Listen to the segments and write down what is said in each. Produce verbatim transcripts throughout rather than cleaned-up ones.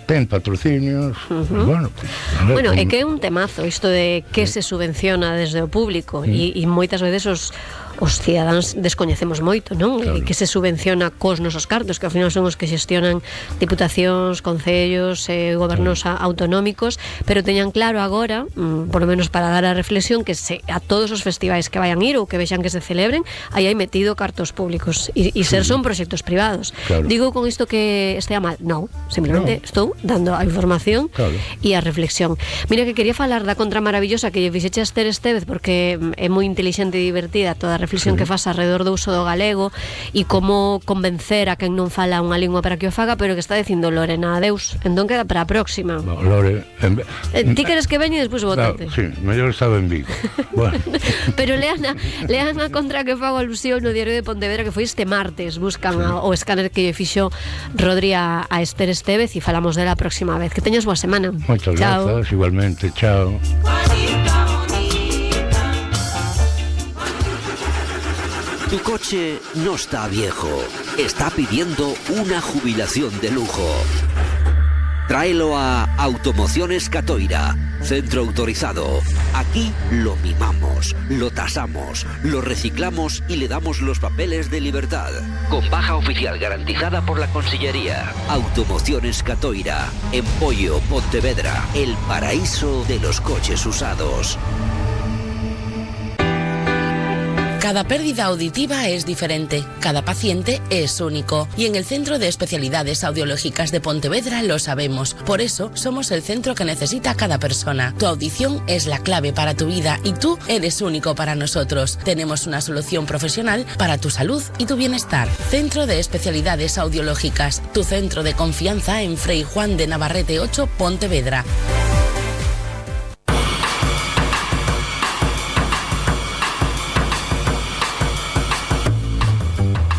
ten patrocinios, uh-huh. Pues bueno, pues, bueno, é que é un temazo isto de que se subvenciona desde o público e, e moitas veces os os cidadáns descoñecemos moito, non? Claro. Que se subvenciona cos nosos cartos, que ao final son os que xestionan diputacións, concellos, eh, gobernos claro. autonómicos, pero teñan claro agora, mm, por lo menos para dar a reflexión, que se, a todos os festivais que vayan ir ou que vexan que se celebren, aí hai metido cartos públicos e, e ser sí. son proxectos privados. Claro. Digo con isto que estea mal? Non, simplemente no. estou dando a información claro. e a reflexión. Mira que quería falar da contra maravillosa que lle fixeche a Esther Estévez, porque é moi inteligente e divertida toda a reflexión sí. que faz alrededor do uso do galego e como convencer a quen non fala unha lingua para que o faga, pero que está dicindo Lorena, adeus, entón queda para a próxima. No, Lore, en... eh, ti queres que veñe e despois votate. No, sí, mellor estaba en Vigo. Bueno. Pero lean a, lean a contra que fago alusión no Diario de Pontevedra, que foi este martes, buscan sí. a, o escáner que lle fixo Rodri a, a Esther Estévez e falamos dela a próxima vez. Que teñas boa semana. Moitas grazas, igualmente, chao. Tu coche no está viejo, está pidiendo una jubilación de lujo. Tráelo a Automociones Catoira, centro autorizado. Aquí lo mimamos, lo tasamos, lo reciclamos y le damos los papeles de libertad. Con baja oficial garantizada por la Consellería. Automociones Catoira, en Pollo, Pontevedra, el paraíso de los coches usados. Cada pérdida auditiva es diferente, cada paciente es único y en el Centro de Especialidades Audiológicas de Pontevedra lo sabemos. Por eso somos el centro que necesita cada persona. Tu audición es la clave para tu vida y tú eres único para nosotros. Tenemos una solución profesional para tu salud y tu bienestar. Centro de Especialidades Audiológicas, tu centro de confianza en Frei Juan de Navarrete ocho, Pontevedra.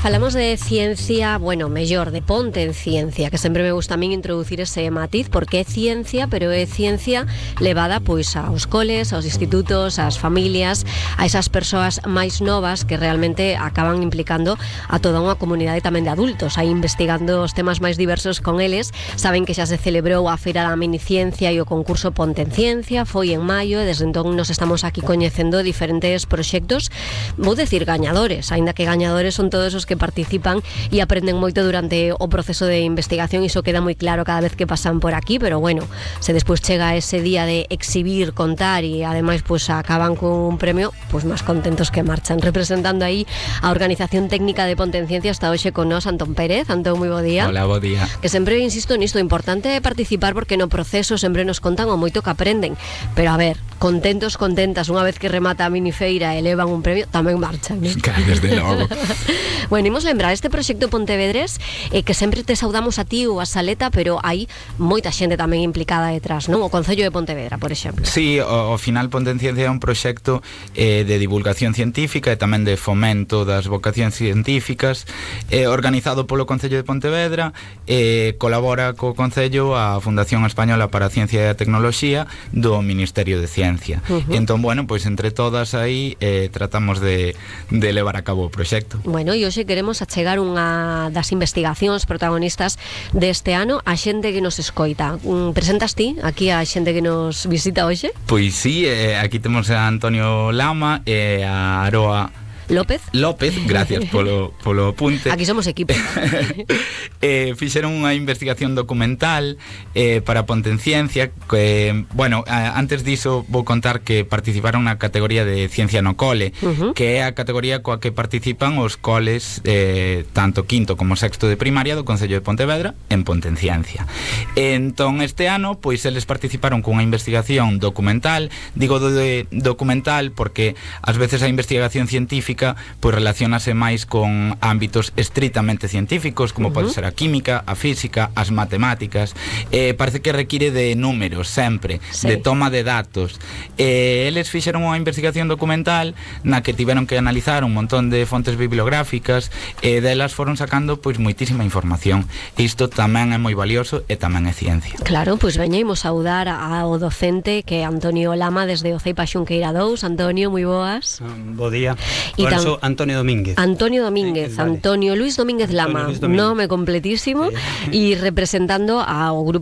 Falamos de ciencia, bueno, mellor, de ponte en ciencia, que sempre me gusta a min introducir ese matiz, porque é ciencia, pero é ciencia levada pois aos coles, aos institutos, ás familias, a esas persoas máis novas que realmente acaban implicando a toda unha comunidade tamén de adultos, aí investigando os temas máis diversos con eles. Saben que xa se celebrou a Feira da Miniciencia e o concurso Ponte en Ciencia, foi en maio, e desde entón nos estamos aquí coñecendo diferentes proxectos, vou decir gañadores, aínda que gañadores son todos os que que participan e aprenden moito durante o proceso de investigación, e iso queda moi claro cada vez que pasan por aquí, pero bueno, se despois chega ese día de exhibir, contar e ademais pues acaban con un premio, pues máis contentos que marchan. Representando aí a Organización Técnica de Ponte en Ciencia está hoxe con nós Antón Pérez. Antón, moi bo día. Hola, bo día. Que sempre insisto nisto, importante é participar porque no proceso sempre nos contan o moito que aprenden, pero a ver, contentos, contentas, unha vez que remata a minifeira e elevan un premio, tamén marchan, ¿no? Claro, desde logo. Bueno, imos lembrar este proxecto Pontevedrés, eh, que sempre te saudamos a ti ou a Saleta, pero hai moita xente tamén implicada detrás, non? O Concello de Pontevedra, por exemplo. Sí, o, o final Ponte en Ciencia é un proxecto eh, de divulgación científica e tamén de fomento das vocacións científicas, eh, organizado polo Concello de Pontevedra, eh, colabora co Concello a Fundación Española para a Ciencia e a Tecnoloxía do Ministerio de Ciencia. Uh-huh. E entón, bueno, pois entre todas aí eh, tratamos de, de levar a cabo o proxecto. Bueno, e hoxe queremos achegar unha das investigacións protagonistas deste ano a xente que nos escoita. Presentas ti aquí a xente que nos visita hoxe? Pois sí, eh, aquí temos a Antonio Lama e a Aroa López. López, gracias polo, polo apunte. Aquí somos equipo. eh, fixeron unha investigación documental eh, para Ponte en Ciencia que, bueno, a, antes diso vou contar que participaron na categoría de Ciencia no Cole, uh-huh. que é a categoría coa que participan os coles eh, tanto quinto como sexto de primaria do Concello de Pontevedra en Ponte en Ciencia. Entón este ano, pois eles participaron cunha investigación documental. Digo de documental porque ás veces a investigación científica pois relacionase máis con ámbitos estritamente científicos, como uh-huh. pode ser a química, a física, as matemáticas. Eh, parece que require de números sempre, sí. de toma de datos. Eh, eles fixeron unha investigación documental na que tiveron que analizar un montón de fontes bibliográficas e delas foron sacando pois moitísima información. Isto tamén é moi valioso e tamén é ciencia. Claro, pois veñemos saudar ao docente que é Antonio Lama desde o Ceipa Xunqueira dous. Antonio, moi boas. Um, bo día. Y Ahora tam- sou Antonio Domínguez. Antonio Domínguez, Sí, vale. Antonio Luis Domínguez Lama, Antonio Luis Domínguez. nome completísimo, Sí. e representando ao grupo